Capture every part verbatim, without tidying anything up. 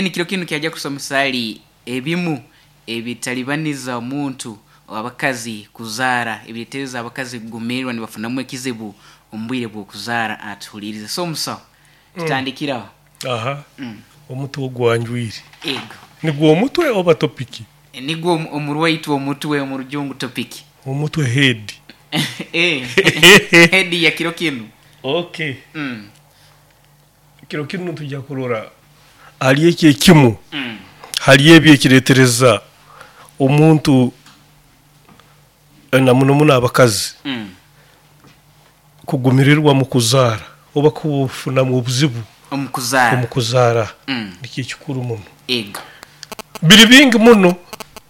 Kiro kinu kyajja kusomesa hali ebimu ebitalibaniza omuntu abakazi kuzaara, ebireetereza abakazi kugumiirwa nibafunamu ekizibu omu bwire bw'okuzaara. Atuhuliirize. So omusaho, tutandikire aho. Aha. Mm. Omutwe ogwanjwire. Ego. Nigwo omutwe oba topic? Nigwo omu- omurwaitwe omutwe, omu Rujungu topic. Omutwe head. Eh, head ya kiro kinu. Okay. Mm. Kiro kinu tujja kurora hali eki ekimu, Mm. hali ebi ekireetereza omuntu, na muno muno abakazi, Mm. kugumirirwa mu kuzaara oba kufunamu obuzibu omu kuzaara. Omu kuzaara. Mm. Nikyo ekikuru muno. Ego. Biri bingi muno,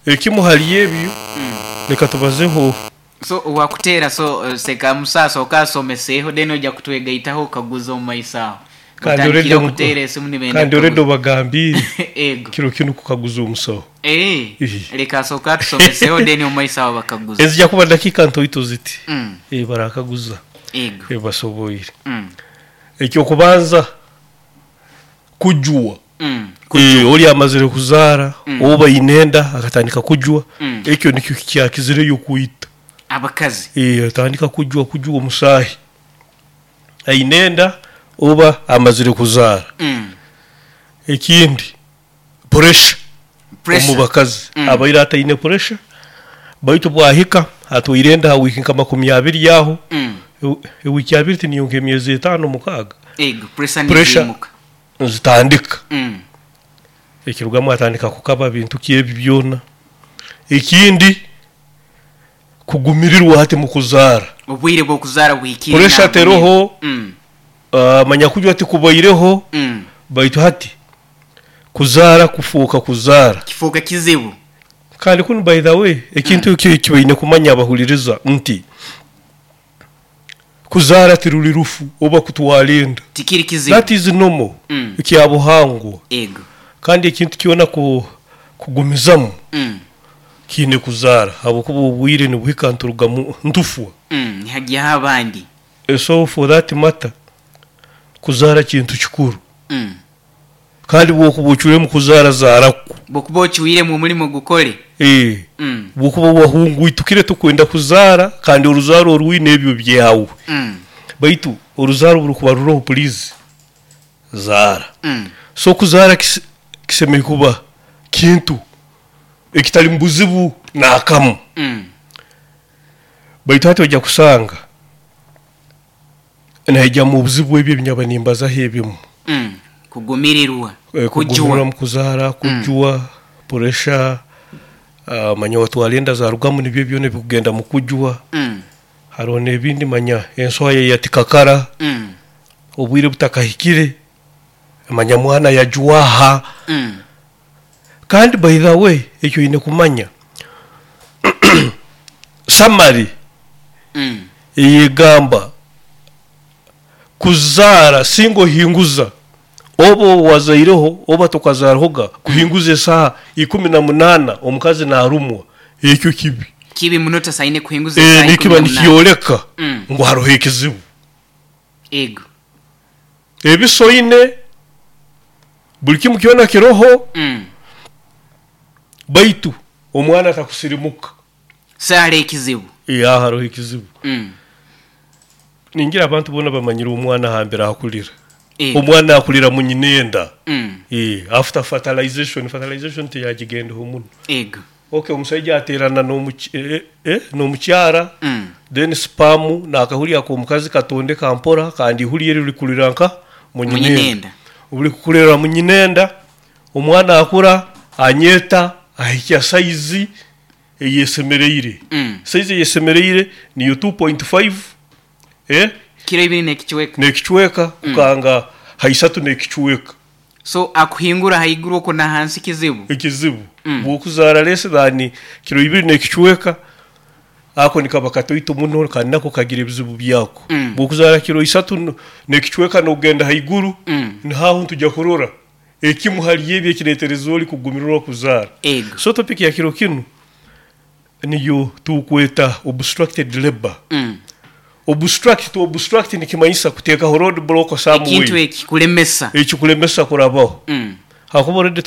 ekimu hali ebyo, Mm. leka tubazeho. So wakuteera, so eh, seka musaasa okasomeseeho, then ojja kutwegaitaho okaguza omu maiso aho. Kandi Otandikire already okuteera esimu nibenda kandi already kukaguza. obagambiire Ego. kiro kinu kukaguza omusaho. Eh, Ihi. leka asooke atusomeseho, then omu maiso aho bakaguza. Ezijja kuba dakiika ntoito ziti. Mm. Eh, barakaguza. Ego. Eh, basoboire. Mm. Ekyokubanza, kujwa. Mm. Eh, oli amazire kuzaara Mm. oba inenda akatandika kujwa, Mm. ekyo nikyo kyakizireyo kwita. Abakazi. Eh, atandika kujwa kujwa omusaahi ainenda oba amazire kuzaara. Mm. Ekindi, pressure Pressure. omu bakazi. Mm. Abaire ataine pressure, baitu bwahika atwaire enda ha wiiki nka makumi abiri aho, Mm. ewi- ewiiki abiri tiniyo nk'emyezi etaano, mukaaga. Ego, pressure Pressure. niziimuka. Nzitandika. Mm. Ekirugamu atandika kukaba bintu kyebi byona. Ekindi, kugumirirwa hati mu kuzaara. Obwire bw'okuzaara buhikire. Pressure nabwo. teroho. Mm. Ah, manya kujwa tikubaireho, Mm. baitu hati kuzaara kufuuka kuzaara kifuuka kizibu. Kandi kunu, by the way, ekintu eki ekibaine kumanya abahuliriza nti kuzaara tiruli rufu oba kutwara enda. Tikiri kizibu. That is normal. Mm. Ekyabuhangwa. Ego. Kandi ekintu kyona ku, kugumizamu Mm. kiine kuzaara, habwokuba obwire nibuhika nturugamu ntufwa. Mm. Nihagyaho abandi. Eh, so for that matter, kuzaara kintu kikuru. Mm. Kandi bwokuba ocwiremu kuzaara, zaaraku. Bwokuba okiwiremu omulimo gukore. Eh, Mm. bwokuba wahungwitukire tukwenda kuzaara, kandi oruzaaro orwine ebyo byawe, Mm. baitu oruzaaro burukuba ruroho, please zaara. Mm. So kuzaara kis- kisemeriire kuba kintu ekitali mu buzibu naakamu. Mm. Baitu hati ojja kusanga naijjamu obuzibu ebyo ebinyaba nimbazaho ebimu. Mm. Kugumirirwa. Eh, kugumirwa kujwa. mu kuzaara, kujwa, pressure, ah, manya watwara enda zarugamu, nibyo byona ebikugenda mu kujwa. Mm. Hariho n'ebindi, manya ensoha yatikakara Mm. obwire butakahikire, manya mwana yajwaha. Mm. Kandi by the way, ekyo oine kumanya summary Mm. eyegamba kuzaara singa ohinguza, oba wazaireho oba tokazaarahoga, kuhinguza esaaha ikumi na munaana omukazi naarumwa, ekyo kibi. Kibi muno, tasaine kuhinguza Eh, esaaha nikiba ikumi na munaana. nikyoleka Mm. ngu haroho ekizibu. Ego. Ebisoine buli kimu kyona kiroho, Mm. baitu omwana atakusirimuka. Saara ekizibu. Eh, aho haroho ekizibu. Mm. Ningira abantu boona bamanyire omwana hambere akulira. Ego. Omwana akulira mu nyinenda. Mm. Eh, after fertilization. Fertilization teyagigendeho muno. Ego. Okay, omusaija aterana n'omuky- eh, eh, n'omukyara, Mm. then sperm nakahuri ako omukazi katondeka mpora, kandi ihuri eri likulira nka mu nyinenda. Munyinenda. Obuli kukulira mu nyinenda, omwana akura, anyeta, ahikya saizi eyesemereire. Mm. Saizi eyesemereire niyo two point five, eh, kiro ibiri n'ekichweka. N'ekicweka kukanga haisatu n'ekicweka. So akuhingura haiguru okwo na hansi kizibu. Ekizibu. Mm. Bwokuzaara less than kiro ibiri n'ekicweka, ako nikaba katoito muno kandi nako kagira ebizibu byako. Mm. Bwokuzaara kiro isatu no- n'ekicweka n'okugenda haiguru, Mm. nihaho ntujya kurora ekimu hali ebyo ekireetereza oli kugumirirwa kuzaara. Ego. So topic ya kiro kinu niyo tukweta obstructed labor. Mm. Obstruct, to obstruct nikimanyisa kuteekaho road block Ekintu somewhere. ekikulemesa. Ekikulemesa kurabaho. Mm. Hakuba already.